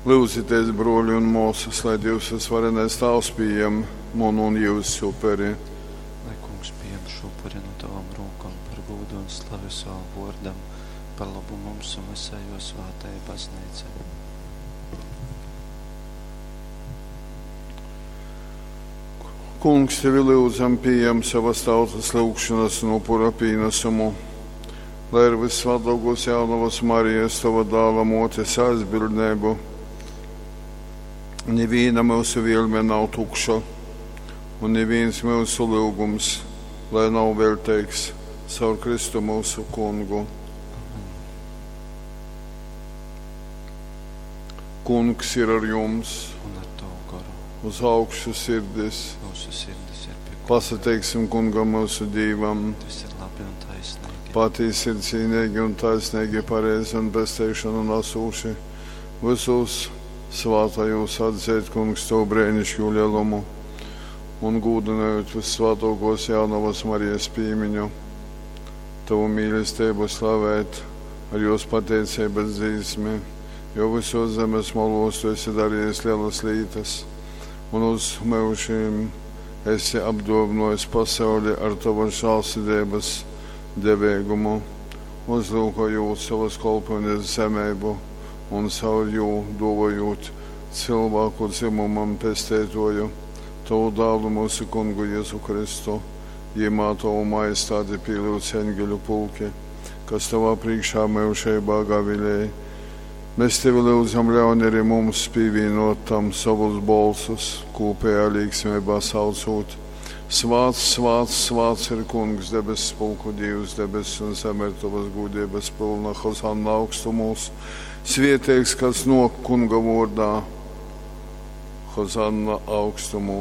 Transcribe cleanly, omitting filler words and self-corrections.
Lyudzitēs, brōli un mōsas, lai Dīvs vysvarenais Tāvs pījem munu un jyusu uperi. Lai Kungs pījem šū upuri nu tovom rūkom par gūdu un slavi sovam vōrdam, par lobu mums un vysai jō svātajai Bazneicai. Kungs, tevi lyudzam, pījem savas tautas lyugšonas un upura pīnasumu, lai ar vyssvātōkōs Jaunovas Marijas, tova dāla mōtes aizbildneibu, nivīna myusu vielme nav tukša, un nivīns myusu lyugums, lai nav veļteigs, caur Kristu myusu Kungu. Amen. Kungs ir ar jums, Un ar tavu goru. uz augšu sirdis. Mūsu sirdis ir pie Kunga. Pasateiksim Kungam myusu Dīvam. Tas ir labi un taisnīgi. Patīsi ir cīnīgi un taisnīgi, pareizi un pestīšanu nesūši. Visos svātajos atzīt, Kungs, tavu brēnišķo lielumu un gūdinājot vissvātākos jaunavas Marijas pīmiņu, tavu mīlestību slavēt ar jos pateicības dzīsmi, jo visos zemes malos tu esi darījis lielas lietas un uz mūžiem esi apdāvinājis pasauli ar tavas žēlsirdības devēgumu, uzlūkojot savas kalpones zemību un caur jū dāvājot cilvēku dzimumam pestētoju, tavu dēlu mūsu kungu Jēzu Kristu, jimā tavu majestāti pielūdz eņģeļu pulki, kas tavā priekšā mūžībā gavilēja. Mēs tevi lūdzam, ļaun arī mums pievienot tam savus bolsus, kopējā līgsmībā saucot. Svāts, svāts, svāts ir kungs, debesu pulku Dievs, debesis un zeme ir tavas gudrības pilna, Hozanna augstumos. Svieteigs, kas nok kunga vārdā, Hozanna augstumos.